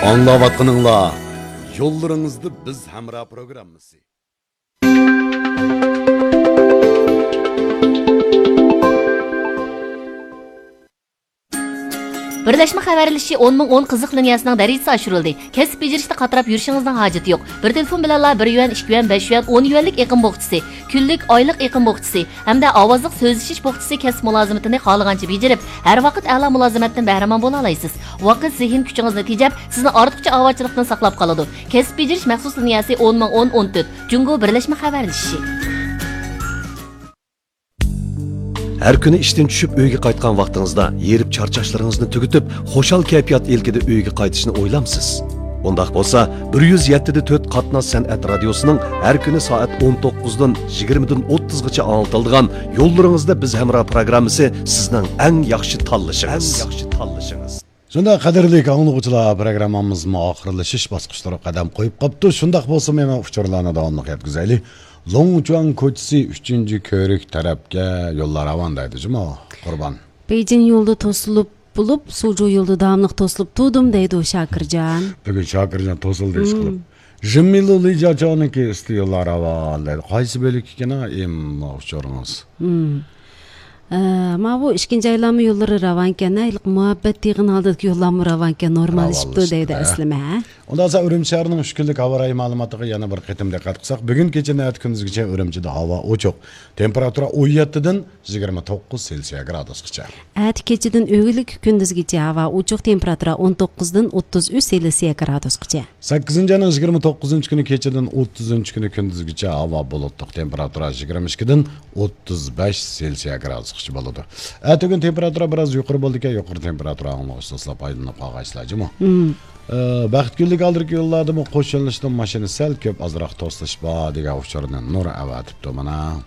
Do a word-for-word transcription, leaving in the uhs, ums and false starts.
ئاڭلاۋاتقىنىڭلار يوللىرىڭىزدا بىز ھەمراھ پروگراممىسى. بىرلەشمە خەۋەرلىشىشى ئون مىڭ ئون قىزىق لىنىيەسىنىڭ دەرىجىسى ئاشۇرۇلدى. كەسىپ بېجىرىشتە قاتراپ يۈرۈشىڭىزنىڭ ھاجىتى يوق. بىر تېلېفون بىلەنلا بىر يۈەن، ئىككى يۈەن، بەش يۈەن، ئون يۈەنلىك ئېقىم بوخچىسى، كۈنلۈك، ئايلىق ئېقىم بوخچىسى ھەمدە ئاۋازلىق سۆزلىشىش بوخچىسى كەسىپ مۇلازىمىتىنى خالىغانچە بېجىرىپ، ھەر ۋاقىت ئەلا مۇلازىمەتتىن بەھرىمەن بولالايسىز. ۋاقىت، زېھىن كۈچىڭىزنى تېجەپ، سىزنى ئارتۇقچە ئاۋارىچىلىقتىن ساقلاپ قالىدۇ. كەسىپ بېجىرىش مەخسۇس لىنىيەسى ئون مىڭ ئون ئون تۆت، جۇڭگو بىرلەشمە خەۋەرلىشىشى. ھەر كۈنى ئىشتىن چۈشۈپ ئۆيگە قايتقان ۋاقتىڭىزدا ھېرىپ چارچاشلىرىڭىزنى تۈگىتىپ، خۇشال كەيپىيات ئىلكىدە ئۆيگە قايتىشنى ئويلامسىز؟ ئۇنداق بولسا، بىر يۈز يەتتە دە تۆت قاتناش سەنئەت رادىيوسىنىڭ ھەر كۈنى سائەت ئون توققۇزدىن يىگىرمىدىن ئوتتۇزغىچە ئاڭلىتىلىدىغان يوللىرىڭىزدا بىز ھەمراھ پروگراممىسى سىزنىڭ ئەڭ ياخشى تاللىشىڭىز. ئەڭ ياخشى تاللىشىڭىز. شۇنداق، قەدىرلىك ئاڭلىغۇچىلار، پروگراممىمىزمۇ ئاخىرلىشىش باسقۇچلىرىغا قەدەم قويۇپ قاپتۇ. شۇنداق بولسىمۇ، مەن ئۇچۇرلارنى داۋاملىق يەتكۈزەيلى. لوڭچۇەن كوچىسى، ئۈچىنچى كۆۋرۈك تەرەپكە يوللار راۋان دەيدۇ جۇمۇ، قۇربان. بېيجىڭ يولىدا توسۇلۇپ بولۇپ، سۇجۇ يولىدا داۋاملىق توسۇلۇپ تۇردۇم دەيدۇ شاكىرجان. بۈگۈن شاكىرجان توسۇلدى ئىشقىلىپ. مم. ژىممىلۇ لىجاچاۋنىڭكى ئۈستى يوللار راۋان دەيدۇ. قايسى بۆلەك ئىكەن، ئىم، ئۇچۇرىڭىز؟ مم. ئە، ماۋۇ ئىككىنچى ئايلانما يوللىرى راۋانكەن، ھېلىقى مۇھەببەت دېگەن ھالدىكى يوللارمۇ راۋانكەن، نورماللىشىپتۇ دەيدۇ ئەسلىمە، ھە؟ ئۇنداق بولسا ئۈرۈمچى شەھىرىنىڭ ئۈچ كۈنلۈك ھاۋا رايى مەلۇماتىغا يەنە بىر قېتىم دىققەت قىلساق، بۈگۈن كېچىدىن ئەتە كۈندۈزگىچە ئۈرۈمچىدە ھاۋا ئوچۇق. تېمپېراتۇرا ئون يەتتىدىن يىگىرمە توققۇز سېلسىيە گرادۇسقىچە. ئەتە كېچىدىن ئۆگۈنلۈك كۈندۈزگىچە ھاۋا ئوچۇق، تېمپېراتۇرا ئون توققۇزدىن ئوتتۇز ئۈچ سېلسىيە گرادۇسقىچە. سەككىزىنچى ئاينىڭ يىگىرمە توققۇزىنچى كۈنى كېچىدىن ئوتتۇزىنچى كۈنى كۈندۈزگىچە ھاۋا بۇلۇتلۇق، تېمپېراتۇرا يىگىرمە ئىككىدىن ئوتتۇز بەش سېلسىيە گرادۇسقىچە بولىدۇ. ئەتىگۈن تېمپېراتۇرا بىراز يۇقىرى بولىدىكەن، يۇقىرى تېمپېراتۇرا ئاڭلىغۇچ دوستلار پايدىلىنىپ قالغايسىلەر جۇمۇ. مم. ئە، بەختكۈنلۈك ئالدىرىكى يوللاردىمۇ قوش يۆنىلىشتىن ماشىنا سەل كۆپ، ئازراق توسۇلۇش بار دېگەن ئۇچۇرنى نۇر ئەۋەتىپتۇ مانا.